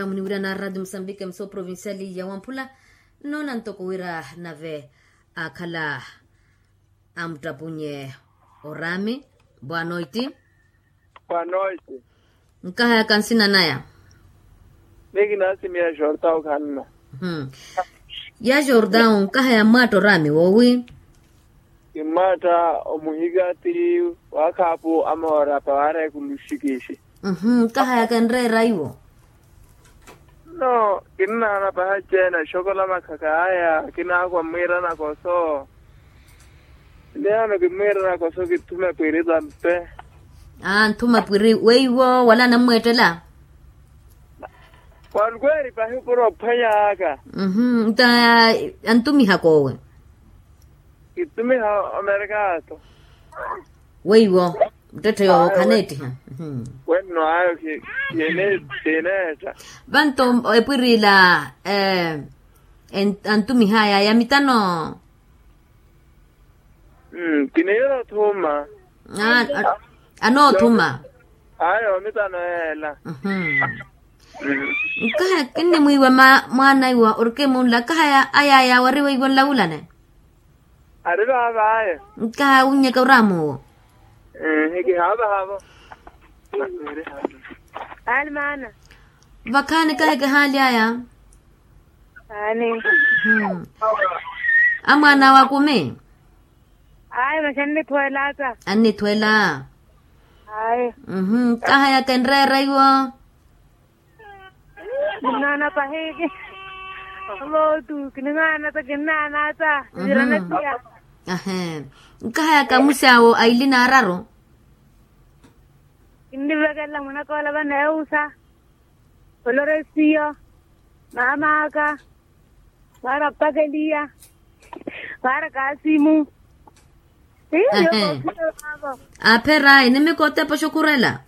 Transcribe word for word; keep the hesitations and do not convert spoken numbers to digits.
Muniwira na radio musambike muso provinciali ya wamphula. Nnoona ntoko wira nave akhala amuttapunye orami. Boa noite. Boa noite. Nkahayaka nsina naya? Ni kinaasimiya jortao khanna. Ya jortao nkahaya mmaatta orami woowi? Kimmaatta omuhikati wakhaapu amoora pawaara ekulu xikixi. Nkahayaka enreera iwo? No, kinnaana paha ceena xokola makhaka aya kinaakwa mmwiira nakoso. Niyano kimmwiira nakoso kithume pwiri tampe. Aa nthuma pwiri weiwo wala anammweettela? Walukweeri pahi opuro ophwanya aka. Nta antumihaka owe? Kittumiha omerekato. Weiwo muttetthe yoowo khaneettiha. Wenno ayo kineetta. Vanto epwirila antumihaya ya mitano. Kiniira othuma. Anoothuma. Ayo mitano yeela. Nkaha kinnimwiiwa mwaana iwa orkemunla kaha aya aya wari weiwo nlawulane. Ari vaavaayo. Nkaha wunnyeka oraamuwo. Ehe kihaavahavo. Aali maana. Vakhaani kahi kihaali aya. Aani. Amwaana awe akumi. Ayi masi annithweela ata. Annithweela. Ayi. Nkaha yaka enreera iwo. Kinnaana pahiki. Avotu kinnaana ata kinnaana ata. Nkaha yaka musi awo aili n'araru. Kinnivekelela mwanakoola vaneewusa. Oloresiyo maamaaka. Mwaara pakeliya. Mwaara kaasimu. Apherayi nimikotepa oxukhurela.